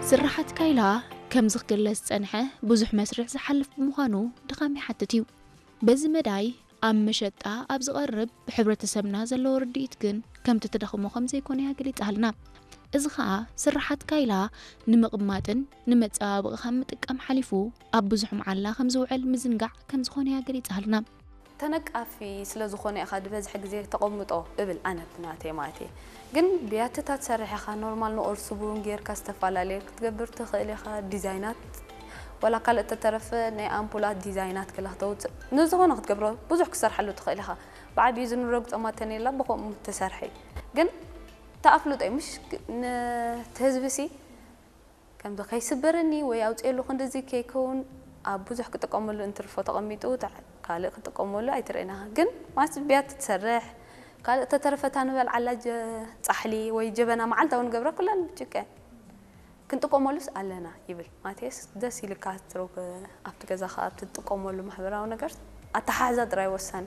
ስርሓት ካይላ ከምዚ ክግለጽ ዝጸንሐ ብዙሕ መስርሕ ዝሓልፍ ብምዃኑ ድኻም ይሓትት እዩ። በዚ መዳይ ኣብ መሸጣ ኣብ ዝቐርብ ብሕብረተሰብና ዘለዎ ርድኢት ግን ከምቲ ተደኽሞ ከም ዘይኮነ እያ ገሊጻልና። እዚ ኸኣ ስርሓት ካይላ ንምቕማጥን ንመጸባበቒ ካብ ምጥቃም ሓሊፉ ኣብ ብዙሕ መዓላ ከም ዝውዕል ምዝንጋዕ ከም ዝኾነ እያ ገሊጻልና። ተነቃፊ ስለ ዝኾነ ኢኻ ዝበዝሐ ግዜ ተቐምጦ እብል ኣነ ብናተይ ማለት እየ። ግን ብያትታት ትሰርሕ ኢኻ ኖርማል ንቑርሲ ቡን ጌርካ ዝተፈላለየ ክትገብር ትኽእል ኢኻ ዲዛይናት ወላ ካልእ ተተረፈ ናይ ኣምፑላት ዲዛይናት ገለ ክተውፅእ ንዝኾነ ክትገብሮ ብዙሕ ክትሰርሓሉ ትኽእል ኢኻ። ብዓብዩ ዝንረጉ ፀማተን የላ ብኸምኡ ትሰርሐ እዩ። ግን ተኣፍልጦ እዩ ምሽ ንትህዝቢ ሲ ከምዚ ከይስበረኒ ወይ ኣውፅኤሉ ክንድዚ ከይከውን ኣብ ብዙሕ ክጥቀመሉ እንትርፎ ተቐሚጡ ካልእ ክጥቀመሉ ኣይትርእና ግን ማስ ብያት ትሰርሕ ካልእ ተተረፈታ ንበል ዓላ ፃሕሊ ወይ ጀበና መዓልታዊ ንገብረ ኩለን ጭቀ ክንጥቀመሉስ ኣለና ይብል ማቴስ ደስ ኢልካ ትረብ ኣብቲ ገዛኻ ኣብቲ ትጥቀመሉ ማሕበራዊ ነገር ኣተሓሕዛ ጥራይ ወሳኒ